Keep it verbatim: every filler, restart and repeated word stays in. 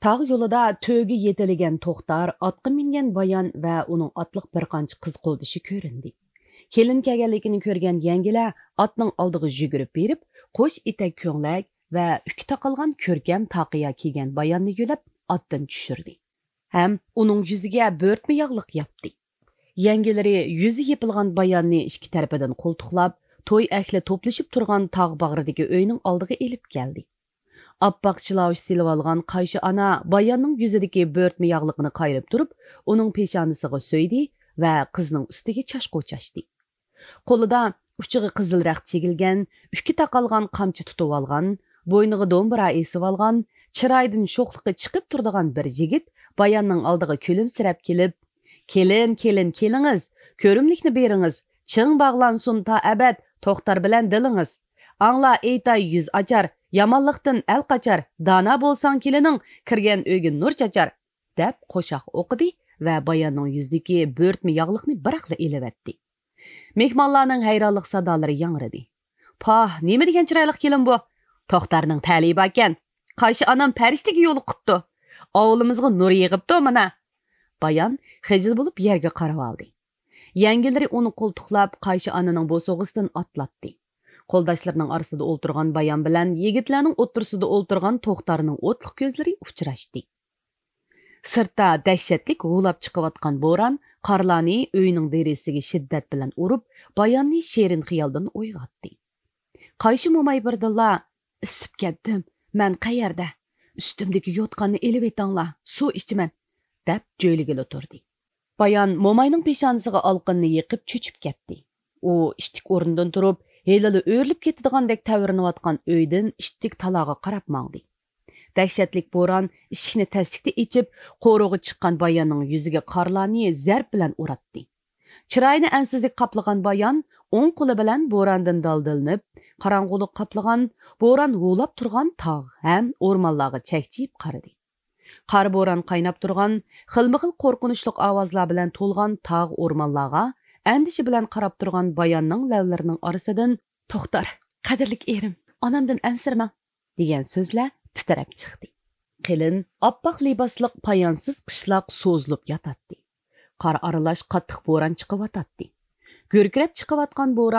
تاغ يولىدا تۆگە يېتىلىگەن توختار، ئاتقا مىنگەن بايان ۋە ئۇنىڭ ئاتلىق بىر قانچە قىز قولدىشى كۆرۈندى. كېلىن كەلگەنلىكىنى كۆرگەن يەڭگىلەر ئاتنىڭ ئالدىغا يۈگۈرۈپ بېرىپ، قوش ئېتەك كۆڭلەك ۋە ئۈكى تاقالغان كۆركەم تاقىيا كىيگەن باياننى يۆلەپ ئاتتىن چۈشۈردى ھەم ئۇنىڭ يۈزىگە بۆرتمە ياغلىق ياپتى. يەڭگىلىرى يۈزى يېپىلغان باياننى ئىككى تەرىپىدىن قولتۇقلاپ، توي ئەھلى توپلىشىپ تۇرغان تاغ باغرىدىكى ئۆينىڭ ئالدىغا ئېلىپ كەلدى. ئاپئاق چىلاۋۇش سېلىۋالغان قايشى ئانا باياننىڭ يۈزىدىكى بۆرتمە ياغلىقىنى قايرىپ تۇرۇپ، ئۇنىڭ پېشانىسىغا سۆيدى ۋە قىزنىڭ ئۈستىگە چاچقۇ چاچتى. قولىدا ئۇچىغا قىزىل رەخت چېگىلگەن، ئۈكى تاقالغان قامچا تۇتۇۋالغان، بوينىغا دومبۇرا ئېسىۋالغان، چىرايىدىن شوخلۇقى چىقىپ تۇرىدىغان بىر يىگىت باياننىڭ ئالدىغا كۈلۈمسىرەپ كېلىپ، «كېلىن، كېلىن، كېلىڭىز، كۆرۈملۈكنى بېرىڭىز، چىڭ باغلانسۇن تا ئەبەد توختار بىلەن دىلىڭىز. ئاڭلا ئېيتاي يۈز ئاچار، يامانلىقتىن ئەل قاچار، دانا بولساڭ كېلىنىڭ، كىرگەن ئۆيگە نۇر چاچار» دەپ قوشاق ئوقۇدى ۋە باياننىڭ يۈزىدىكى بۆرتمە ياغلىقنى بىراقلا ئېلىۋەتتى. مېھمانلارنىڭ ھەيرانلىق سادالىرى ياڭرىدى. «پاھ، نېمە دېگەن چىرايلىق كېلىن بۇ! توختارنىڭ تەلىيى باركەن. قايشى ئانام پەرىشتىگە يولۇقۇپتۇ. ئاۋۇلىمىزغا نۇر يېغىپتۇ مانا.» بايان خىجىل بولۇپ يەرگە قارىۋالدى. يەڭگىلىرى ئۇنى قولتۇقلاپ، قايشى ئانىنىڭ بوسۇغىسىدىن ئاتلاتتى. قولداشلىرىنىڭ ئارىسىدا ئولتۇرغان بايان بىلەن يىگىتلەرنىڭ ئوتتۇرىسىدا ئولتۇرغان توختارنىڭ ئوتلۇق كۆزلىرى ئۇچراشتى. سىرتتا دەھشەتلىك ھۇۋلاپ چىقىۋاتقان بوران قارلارنى ئۆينىڭ دېرىزىسىگە شىددەت بىلەن ئۇرۇپ، باياننى شېرىن خىيالدىن ئويغاتتى. قايشى موماي بىردىنلا، «ئىسسىپ كەتتىم، مەن قەيەردە؟ ئۈستۈمدىكى يوتقاننى ئېلىۋېتىڭلار، سۇ ئىچىمەن» دەپ جۆيلىگىلى تۇردى. بايان موماينىڭ پېشانىسىغا ئالقىنىنى يېقىپ چۆچۈپ كەتتى. ئۇ ئىتتىك ئورنىدىن تۇرۇپ، ھېلىلا ئۆرۈلۈپ كېتىدىغاندەك تەۋرىنىۋاتقان ئۆيدىن ئىتتىك تالاغا قاراپ ماڭدى. دەھشەتلىك بوران ئىشىكنى تەسلىكتە ئېچىپ، قورۇغا چىققان باياننىڭ يۈزىگە قارلارنى زەرب بىلەن ئۇراتتى. چىرايىنى ئەنسىزلىك قاپلىغان بايان ئوڭ قولى بىلەن بوراندىن دالدىلىنىپ، قاراڭغۇلۇق قاپلىغان، بوران ھۇۋلاپ تۇرغان تاغ ھەم ئورمانلارغا چەكچىيىپ قارىدى. قارا بوران قايناپ تۇرغان، خىلمۇخىل قورقۇنچلۇق ئاۋازلار بىلەن تولغان تاغ ئورمانلارغا ئەندىشە بىلەن قاراپ تۇرغان باياننىڭ لەۋلىرىنىڭ ئارىسىدىن، «توختار، قەدىرلىك ئېرىم، ئانامدىن ئەنسىرىمەڭ» دېگەن سۆزلەر تىترەپ چىقتى. قېلىن، ئاپئاق لىباسلىق پايانسىز قىشلاق سوزۇلۇپ ياتاتتى. قار ئارىلاش قاتتىق بوران چىقىۋاتاتتى. گۈركىرەپ چىقىۋاتقان بوران